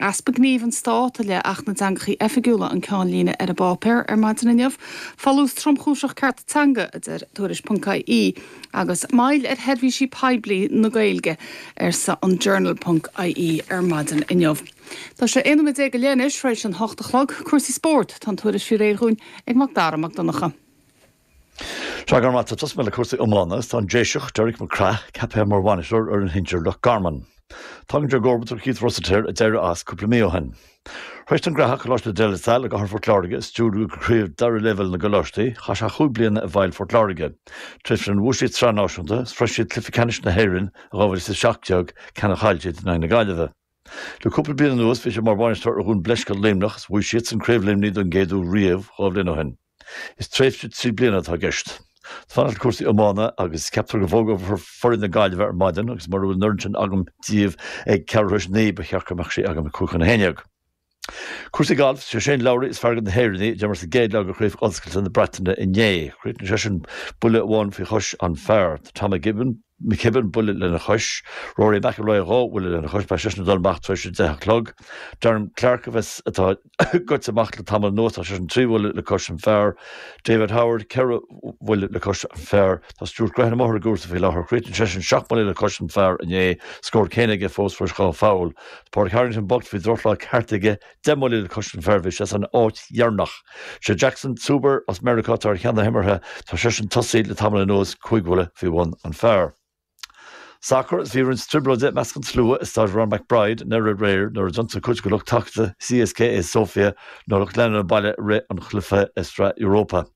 Easpa gnímh an Stát i leith Acht na dTeangachaí Oifigiúla an ceannlíne ar an bpáipéar ar maidin inniu. Folús tromchúiseach cearta teanga, a deir Tuairisc.ie, agus moill ar sheirbhísí poiblí na Gaeilge, arsa an Journal.ie ar maidin inniu. Tá sé 11 nóiméad go leith anois tar éis an hocht a chlog. Cúrsaí spóirt, tá an tuairisc faoi réir dhúinn ag Mac Dara Mac Donncha. Sea, go raibh maith agat. Tosóidh mé le cúrsaí iomána agus tá an Déiseach, Derek McCraith, ceaptha mar bhainisteoir ar fhoireann shinsir Loch Garman. Tagann sé i gcomharbacht ar Keith Rossiter a d'éirigh as cúpla mí ó shin. Tar éis don gCreathach Coláiste De La Salle i gcathair Phort Láirge a stiúradh go craobh dara leibhéal na gcoláistí, chaith sé chúig bliana i bhfeighil Phort Láirge. Tréimhse ina bhuaigh siad sraith náisiúnta, is shroich siad cluiche ceannais na hÉireann i 2017, ceann a chaill siad in aghaidh na Gaillimhe. Le cúpla bliain anuas bhí sé mar bhainisteoir ar Dhún Bleisce Luimneach is bhuaigh siadsan Craobh Luimnigh don gcéad uair riamh 2 bhliain ó shin. Is tréimhse 3 bliana atá i gceist. Fanacht le cúrsaí iomána agus ceaptar go bhfógrófar foireann na Gaillimhe ar maidin agus mura bhfuil an fhoireann sin agam díobh ag ceathrú tar éis a naoi ba cheart go mbeadh sí agam ag 10:55. Cúrsaí gailf, Sé Shane Lowry is fearr de na hÉireannaigh a d'imir sa gcéad leath de Chraobh Ollscoilte na Breataine inné. Chríochnaigh seisean buille amháin faoi chois an phar. Tá Tom McKibbin buille lena chois. Rory McIlroy 2 bhuille lena chois. Beidh seisean ag dul amach tar éis a deich a chlog. Darren Clarke a bheas atá goite amach le tamall anuas, tá seisean 3 bhuille le cois an phar. David Howard, 4 bhuille le cois an phar. Tá Stuart Grehan amuigh ar an gcúrsa faoi láthair. Chríochnaigh seisean 7 mbuille le cois an phar inné. Scór céanna aige fós tar éis 2 pholl. Pádraig Harrington bocht bhí drochlá ceart aige, 10 mbuille le cois an phar, bhí sé san áit dheireanach. Sé Jackson Zuber as Meiriceá atá ar cheann na himeartha, tá seisean tosaí le tamall anuas, 5 bhuille faoi bhun an phar. Sacar Is bhí roinnt trioblóide i measc an tslua i Staid Ron McBride i nDoire aréir nuair a d'ionsaigh cuid de lucht tacaíochta CSKA Sofia na lucht leanúna an baile i rith an chluiche i Sraith Europa.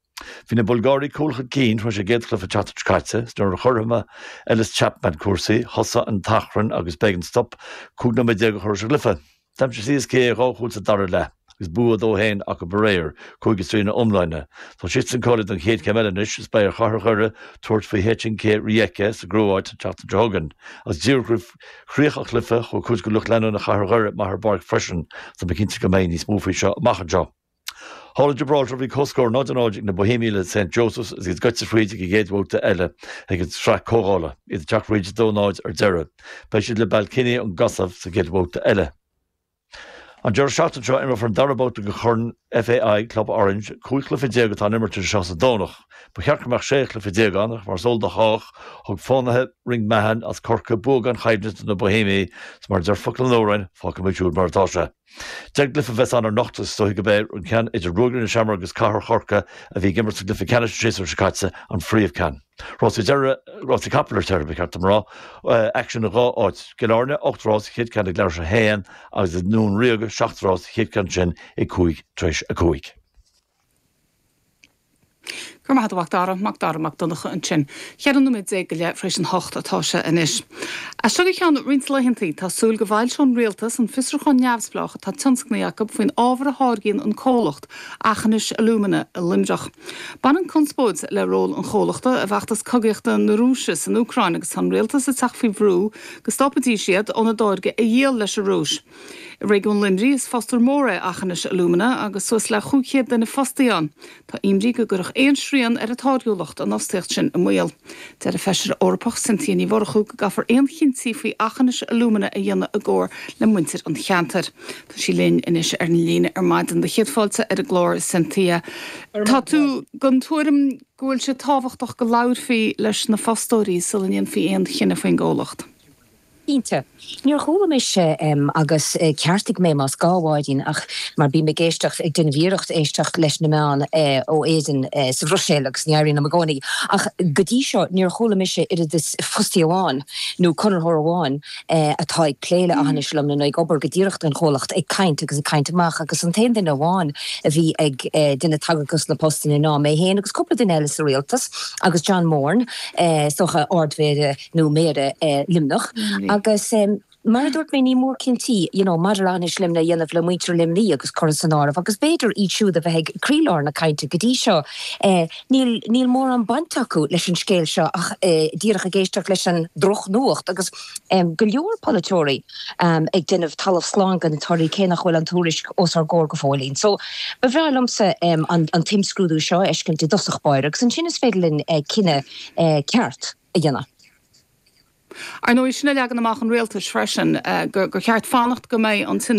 Bhí na Bulgáirigh cúl chun cinn tar éis a gcéad chluiche an tseachtain seo caite is nuair a chothromaigh Ellis Chapman cúrsaí, thosaigh an t-achrann agus b'éigean stop 15 nóiméad a chur leis an gcluiche. D'aimsigh CSKA 2 chúl sa dara leath agus bua 2-1 acu aréir, 5-3 ina iomláine. Tá siadsan cáilithe don chéad chéim eile anois is beidh ar Chathair Dhoire tabhairt faoi HNK Rijeka sa gCróit an tseachtain seo chugainn. Agus díreach roimh chríoch an chluiche, chuaigh cuid de lucht leanúna Chathair Dhoire amach ar an bpáirc freisin. Tá mé cinnte go mbeidh níos mó faoi seo amach anseo. Thall i Gibraltar bhí comhscór 0-0 ag na Boihéamaigh le St Joseph's agus iad goite fríd ag an gcéad bhabhta eile ag an tsraith comhdhála, iad ag teacht fríd 2-0 ar deireadh. Beidh siad le Ballkani ón gCosaiv sa gcéad bhabhta eile. An deireadh seachtaine seo imreofar an dara babhta de Chorn FAI Club Orange, 15 chluiche atá in imirt idir seo is an Domhnach. Ba cheart go mbeadh 16 chluiche ann ach mar is eol do chách, thug Fánaithe Ringmahon as Corcaigh bua gan choimhlint do na Boihéamaigh is mar a deir focal an amhráin, fágfaimid siúd mar atá sé. 10 gcluiche a bheas ann anocht agus is dóichí gurb é an ceann idir Ruagairí na Seamróg agus Cathair Chorcaí a bhí ag imirt sa gcluiche ceannais an séasúr seo caite an phríomhcheann. Rásaí deireadh, rásaí capall ar deireadh, ba cheart dom a rá. Aicsean i dhá áit. Cill Airne, 8 rás, an chéad ceann ag leathuair tar éis a haon agus i nDún Ríoga, 7 rás, an chéad ceann sin ag 5 tar éis a 5. Go raibh maith agat a Mhac Dara, Mac Dara Mac Donncha ansin. 14 nóiméad go leith tar éis an hocht atá sé anois. As seo go ceann roinnt laethantaí, tá súil go bhfoilseoidh an Rialtas an fiosrúchán neamhspleách atá tionscnaithe acu faoin ábhar a tháirgíonn an comhlacht Aughinish Alumina i Luimneach. Baineann conspóid le ról an chomhlachta i bhfeachtas cogaíochta na Rúise san Úcráin agus tá an Rialtas ag teacht faoi bhrú go stopfaidís iad óna dtáirge a dhíol leis an Rúis. I réigiún Luimnigh, is fostóir mór é Aughinish Alumina agus suas le 500 duine fostaithe ann. Tá imní go gcuirfeadh aon srian ar a táirgiúlacht an fhostaíocht sin i mbaol. Deir an Feisire Eorpach Cynthia Ní Mhurchú go gcaithfear aon chinntí faoi Aughinish Alumina a dhéanamh i gcomhar le muintir an cheantair. Tá sí linn anois ar an líne ar maidin. Do chéad fáilte ar an gclár, Cynthia. Tá tú den tuairim go bhfuil sé tábhachtach go labharfaí leis na fostóirí sula ndéanfaí aon chinneadh faoin gcomhlacht? Cinnte. Níor chuala mise, agus ceartaigh mé más gá, a Mháirín, ach mar bím ag éisteacht, ag déanamh iarracht éisteacht leis na meáin ó Éirinn sa Bhruiséil agus ní éiríonn liom i gcónaí, ach go dtí seo níor chuala mise oiread is fostaí amháin nó conraitheoir amháin atá ag plé le Aughinish Alumina nó ag obair go díreach don chomhlacht ag caint agus ag caint amach agus an t-aon duine amháin a bhí ag déanamh tagairt dos na postanna ná mé féin agus cúpla duine eile sa rialtas agus John Moran, is dócha, Ard-Mhéara. nó Méara Luimneach agus mar a dúirt mé ní mór cinntí you know maidir le Aughinish Alumina a dhéanamh le muintir Luimnigh agus curtha san áireamh agus b'fhéidir iad siúd a bheith ag croílár na cainte go dtí seo níl níl mórán baint acu leis an scéal seo ach díreach ag éisteacht leis an drochnuacht agus go leor polaiteoirí ag déanamh talamh slán de na torthaí cé nach bhfuil an tuairisc os ár gcomhair go fóillín. So ba bhreá liomsa an an t-imscrúdú seo a fheiscint i dtosach báire agus ansin is féidir linn cinneadh ceart a dhéanamh. Ar ndóigh, sin é leagan amach an rialtais freisin, gur cheart fanacht go mbeidh an t-iniúchadh.